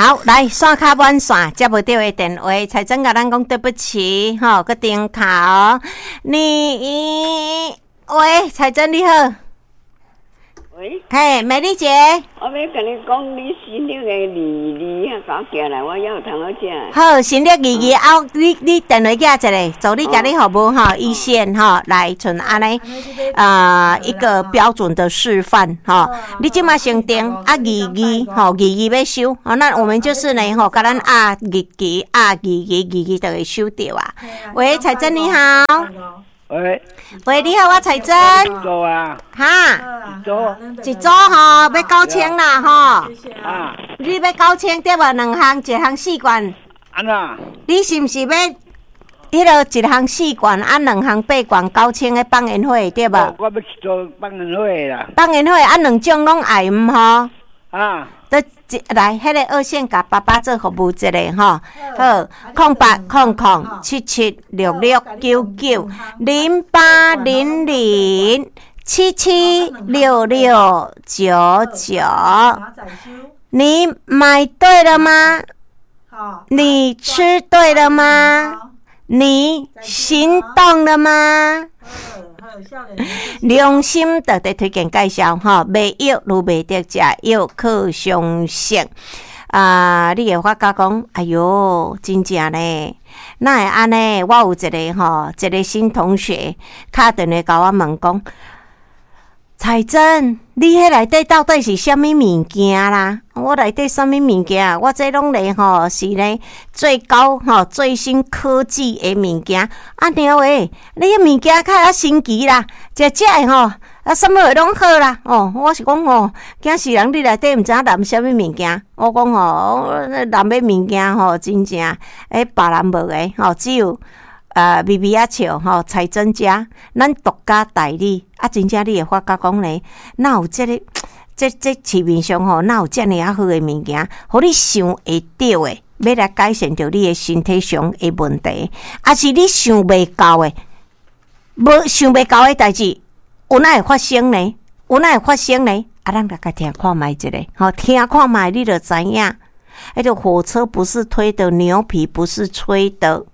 好，來線卡滿線，接無著的電話，彩珍共咱講對不起，吼，閣重敲。你喂，彩珍你好。喂。嘿，美麗姐。我欲共你講，你新曆的二二啊，共寄來，我猶有通好食。好，新曆二二後，你電話寄一个，助理共你服務吼，一線吼，來像按呢啊一個標準的示範吼。你這馬先訂啊二二吼，二二欲收，吼，那我們就是呢吼，共咱壓日期壓二二二二就會收著啊。喂，彩珍你好。喂。喂，你好，我彩珍。一組啊。哈。一組。一組吼，欲9000啦吼。啊。你欲九千對無？兩項，一項四罐。按怎？你是毋是欲彼个一項四罐啊，兩項八罐九千的放煙火對無？我欲一組放煙火啦。放煙火啊，兩種攏愛毋吼？啊。佗一來，彼个二線共爸爸做服務一下吼，好，08007766990800776699。你買對了嗎？你吃對了嗎？你行動了嗎？良心特地推薦介紹吼，賣藥愈袂得食藥靠相信啊！你會發覺講，哎喲，真正呢，哪會按呢？我有一个吼，一个新同學敲電話共我問講，彩珍，你彼內底到底是啥物物件啦？我內底啥物物件？我這攏咧吼是咧最高吼最新科技的物件。啊娘喂，你彼物件較遐神奇啦，食食的吼啊，啥物貨攏好啦。哦，我是講吼，驚死人！你內底毋知影含啥物物件。我講吼，含的物件吼，真正欸別人無的吼，只有微微仔笑吼，彩珍家，咱獨家代理啊！真正你會發覺講咧，哪有這个？這市面上吼，哪有遮爾仔好的物件，予你想會著的，欲來改善著你的身體上的問題，抑是你想袂到的，無想袂到的代誌，有哪會發生呢？有哪會發生呢？啊，咱來共聽看覓一下，吼，聽看覓你就知影。彼个火車不是推的，牛皮不是吹的，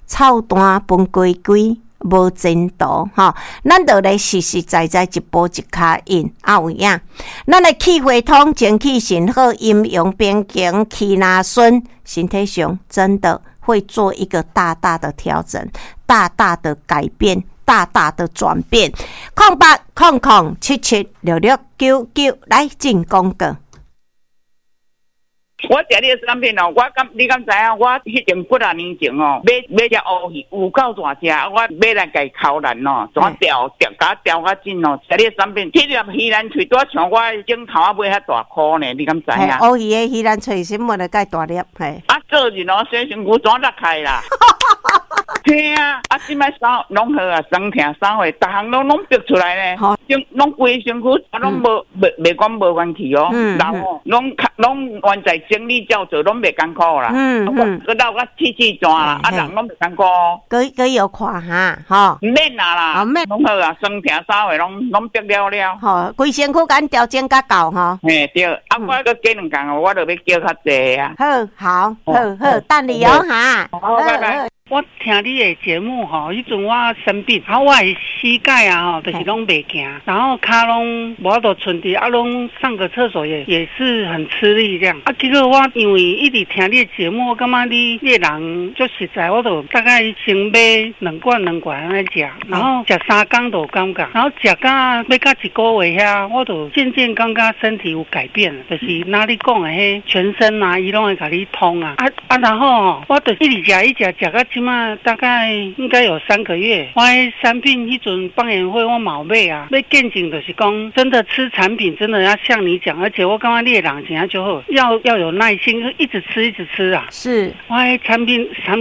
臭蛋分雞雞。無前途吼，咱就來實實在在一步一跤印，啊有影。咱的氣血通，精氣神好，陰陽平衡，氣若順，身體上真的會做一個大大的調整，大大的改變，大大的轉變。0800776699來進廣告。我食你的產品哦，我敢你敢知影？我彼前幾若年前哦，買買隻烏魚有夠大隻，我買來共剾爛哦，怎掉掉共掉較緊哦？食你的產品，彼粒魚腩喙拄仔像我的指頭仔尾遐大箍呢，你敢知影？烏魚的魚腩喙什麼就蓋大粒，嘿。啊，做人哦，洗身軀怎落開啦？嘿啊！啊，這擺手攏好啊，酸痛啥貨，逐項攏逼出來呢。身攏規身軀啊，攏無袂袂講無元氣哦，然後攏攏原在生理照做，攏袂艱苦啦。閣老甲氣氣轉啦，啊人攏袂艱苦。閣閣有看哈，吼。毋免啊啦，免攏好啊，酸痛啥貨攏攏逼了了。吼，規身軀共調整較夠吼。嘿對，啊我閣加兩工，我就欲叫較濟啊。好，好，好好，等你哦哈。好，拜拜。我聽你的節目吼，彼陣我生病，啊，我的膝蓋啊吼，就是攏袂行，然後跤攏無法度伸直，啊，攏上個廁所也是很吃力這樣。啊，結果我因為一直聽你的節目，我感覺你的人足實在，我就大概先買兩罐兩罐按呢食，然後食3工就有感覺，然後食到欲到一個月遐，我就漸漸感覺身體有改變，就是若你講的彼全身啊，伊攏會共你通啊，啊啊，然後我就一直食一直食，食到這馬大概應該有3個月。我彼產品彼陣放煙火我嘛有買啊，欲見證就是講真的吃產品真的要像你講，而且我感覺你的人真正足好，要有耐心，一直吃一直吃啊。我彼產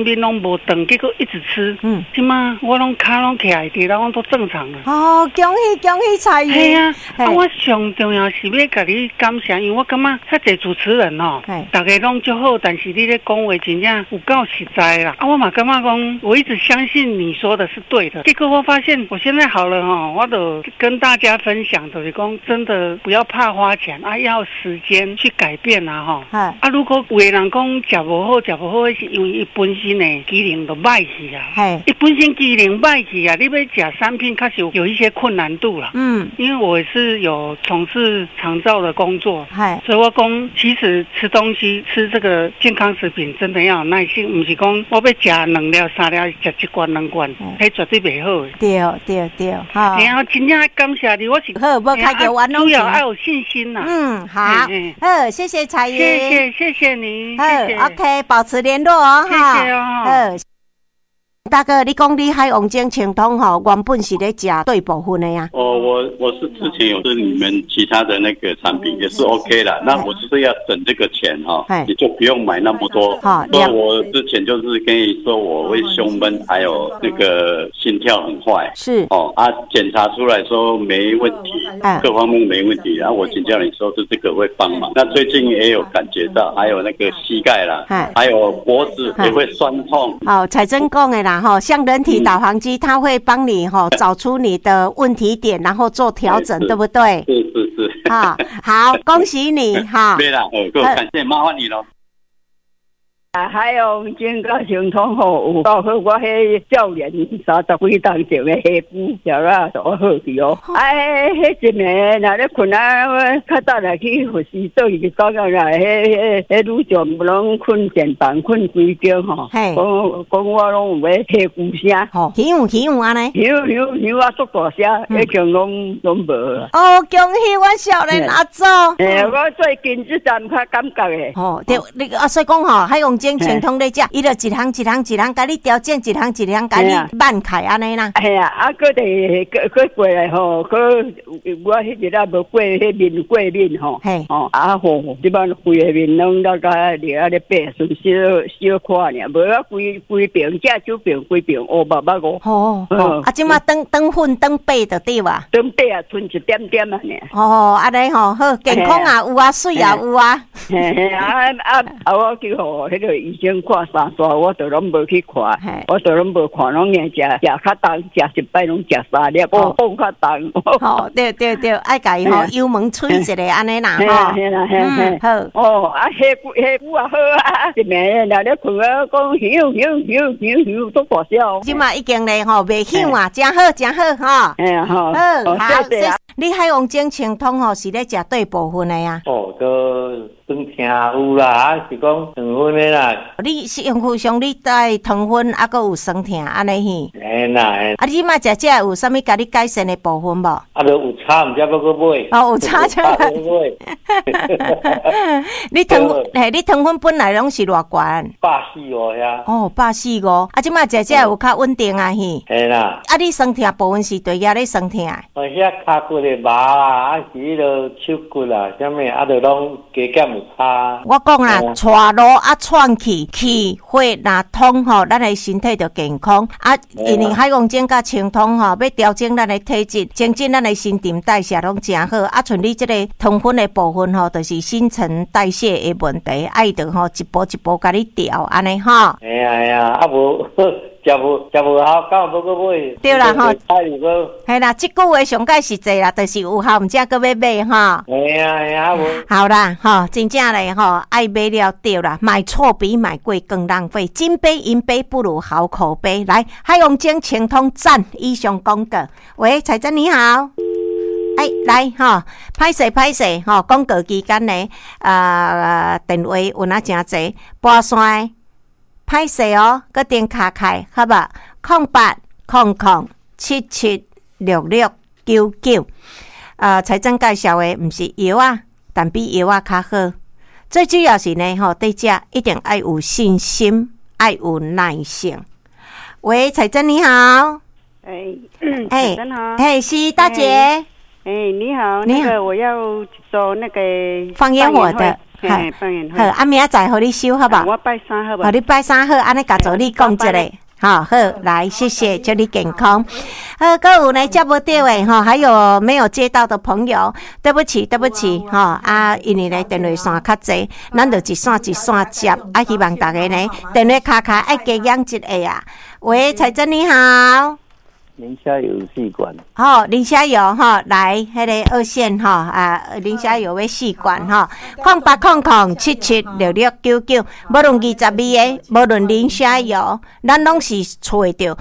品攏無斷，結果一直吃。這馬我攏跤攏徛會直，攏都正常了。哦，恭喜恭喜彩雲。嘿啊，啊，我上重要是欲共你感謝，因為我感覺遐濟主持人哦，逐家攏足好，但是你咧講話真正有夠實在啦。啊，我嘛感覺。感覺講我一直相信你說的是對的，結果我發現我現在好了吼，我就跟大家分享，就是講真的不要怕花錢啊，要時間去改變啊吼。啊，如果有的人講食無好，食無好，是因為伊本身的機能就歹去啊。伊本身機能歹去啊，你欲食產品確實有一些困難度啦。因為我是有從事長照的工作，所以我講其實吃東西吃這個健康食品真的要有耐心，毋是講我欲食兩粒三粒，食一罐兩罐，彼絕對袂好的。對對對，吼。嘿啊，真正感謝你，我是好，無開叫冤主要要有信心啦。嗯，好，好，謝謝彩雲，謝謝謝謝你，好，OK，保持聯絡哦，謝謝哦。好，大哥，你講你海王精清湯吼，原本是咧食對部分的呀？哦，我是之前有是你們其他的那個產品也是 OK 的，那我就是要省這個錢哈，你就不用買那麼多。所以我之前就是跟你說我會胸悶，還有那個心跳很快。哦啊，檢查出來說沒問題，各方面沒問題。然後我請教你說是這個會幫忙。那最近也有感覺到，還有那個膝蓋啦，還有脖子也會酸痛。好，彩珍講的啦。吼，像人體導航機，它會幫你吼找出你的問題點，然後做調整，對不對？是是是。好，好，恭喜你哈！對啦，感謝，麻煩你咯。啊，海王精佮清湯吼，有夠好。我彼少年三十幾冬前的下菇，食啊都好去哦。哎，彼一暝若咧睏啊，較早來去佛寺做伊就講啊，彼女將攏睏電房，睏規間吼。講講我攏有咧下菇聲。吼，響響按呢？響響響啊，足大聲，已經攏無啊。哦，恭喜阮少年阿祖。欸，我最近這陣較感覺的。吼，對，你啊，所以講吼，海王精清湯咧食，伊就一項一項一項共你調整，一項一項共你慢開按呢啦。嘿啊，啊，閣佇閣閣過來吼，閣我彼日啊無過彼面過敏吼，吼啊吼，這擺規個面攏了甲掠啊咧白，剩小小可爾，無啊規規爿正手爿規爿烏目目烏。吼，啊，這擺轉轉粉轉白就對哇？轉白啊，賰一點點啊爾。哦，按呢吼，好，健康也有啊，媠也有啊。嘿嘿啊啊啊！我去予彼個醫生看三煞，我就攏無去看，我就攏無看，攏硬食食較重，食一擺攏食三粒，我放較重。吼，對對對，愛共伊吼油門吹一下按呢啦吼。嘿啦嘿嘿，好。哦，啊，下骨下骨也好啊，一暝若咧睏啊，講響響響響響，足大聲。這馬已經咧吼，袂響啊，真好真好吼。嘿啊吼。好，好。你海王精清湯吼是咧食對部分的啊？哦，都酸痛有啦，啊是講糖分的啦。你身軀上你帶糖分，啊，閣有酸痛按呢嘿？嘿啦。啊，你這馬食這有啥物共你改善的部分無？啊，著有差，毋才欲閣買。哦，有差才買。你糖嘿，你糖分本來攏是偌懸？ 145遐。哦，145，啊，這馬食這有較穩定啊嘿。嘿啦。啊，你酸痛部分是佗遐咧酸痛？哦，遐跤骨的麻啊，啊是彼落手骨啊，啥物啊，著攏加減有差。我講啦，帶路啊，喘氣，氣血若通吼，咱的身體就健康。啊，因為海王精佮清湯吼，欲調整咱的體質，增進咱的新陳代謝攏誠好。啊，像你這個糖分的部分吼，就是新陳代謝的問題，愛著吼一步一步共你調按呢吼。嘿啊嘿啊，啊無食無食無效，敢有欲閣買？對啦吼，嘿啦，這句話上蓋實際啦，就是有效，毋才閣欲買吼。嘿啊嘿啊，無。好啦，吼，真正咧吼，愛買了對啦，買錯比買貴更浪費，金杯銀杯不如好口碑。來，海王精清湯讚，以上廣告。喂，彩珍你好。哎，來吼，歹勢歹勢吼，廣告期間呢，電話有哪誠濟，撥線歹勢哦，閣電卡開，好無？0800776699。財政介紹的毋是藥啊，但比藥啊較好。最主要是呢，吼，對這一定愛有信心，愛有耐性。喂，彩珍你好。哎，哎，哎，是大姐。哎，你好，那個我要做那個放煙火的，放煙火。好，啊，明仔載予你收好無？我拜三好無？好，你拜三好，按呢共助你講一下。好，好，来，谢谢，祝你健康。好，阁有呢，接无著的吼，还有没有接到的朋友，对不起，对不起，吼啊，因为呢电话线较济，咱就一线一线接，啊，希望大家呢电话敲敲爱加减一下啊。喂，彩珍你好。磷虾油试管。好，磷虾油吼，来，彼个二线吼啊，磷虾油欲试管吼，0800776699，无论22个，无论磷虾油，咱拢是揣著。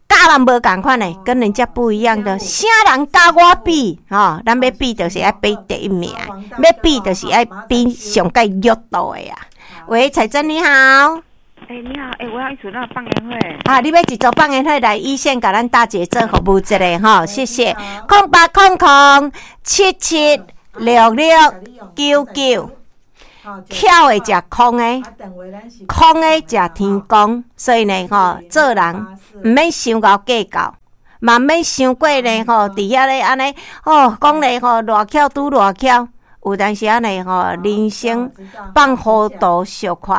佮人无仝款的，跟人家不一样的，啥人佮我比吼？咱欲比就是爱比第一名，欲比就是爱比上盖弱度的啊。喂，彩珍你好。欸，你好，欸，我要一组那个放烟火。啊，你欲一组放烟火来一线，共咱大姐做服务一下吼，谢谢。0800776699，巧的食空的，空的食天公，所以呢吼，做人毋免伤𠢕计较，嘛毋免伤过呢吼，伫遐咧按呢哦，讲咧吼，偌巧拄偌巧，有当时按呢吼，人生放糊涂小可。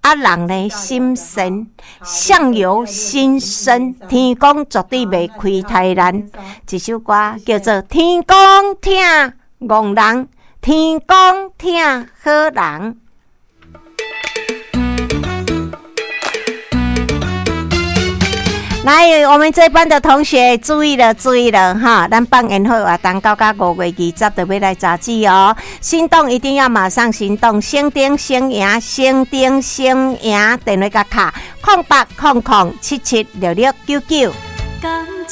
啊，人呢心善，相由心生，天公绝对袂亏待咱。一首歌叫做《天公疼戆人，天公疼好人》。来，我们这班的同学注意了，注意了哈！咱放烟火活动到到5月20就欲来截止哦。心动一定要马上行动，先顶先赢，先顶先赢，电话共敲0800776699。